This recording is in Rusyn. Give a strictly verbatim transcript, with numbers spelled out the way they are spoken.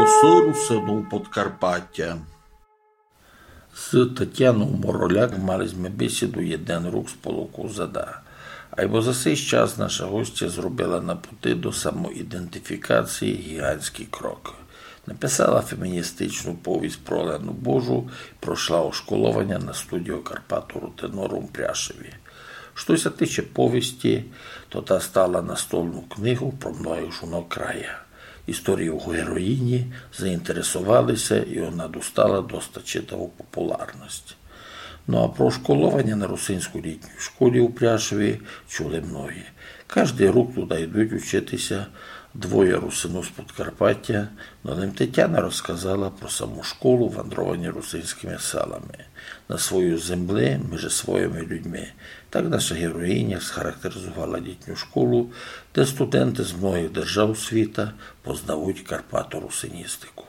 Голосы русинув Подкарпатя. З Тетянов Мороляк мали зме бесіду єден рук з половку зада. Айбо за сей час наша гостя зробила на пути до самоідентифікації гіґантськый крок. Написала феміністичну повість про Олену Божу, пройшла ошколованя на студію Карпату Рутенорум у Пряшеві. Што ся тиче повісти, то та стала настолну книгу про многых жонок края. Історію героїні заінтересовали ся, і она достала доста читаву популярность. Ну а про школованя на русинській літній школі у Пряшеві чули многі. Каждый рук туда йдуть учити ся двоє русинув з Подкарпатя, но лем Тетяна розказала про саму школу вандрованя русинськыми селами. На своюй землі, межи своїми людьми. Так наша героїня схарактеризовала літню школу, де студенты з многых держав світа познавуть карпаторусиністику.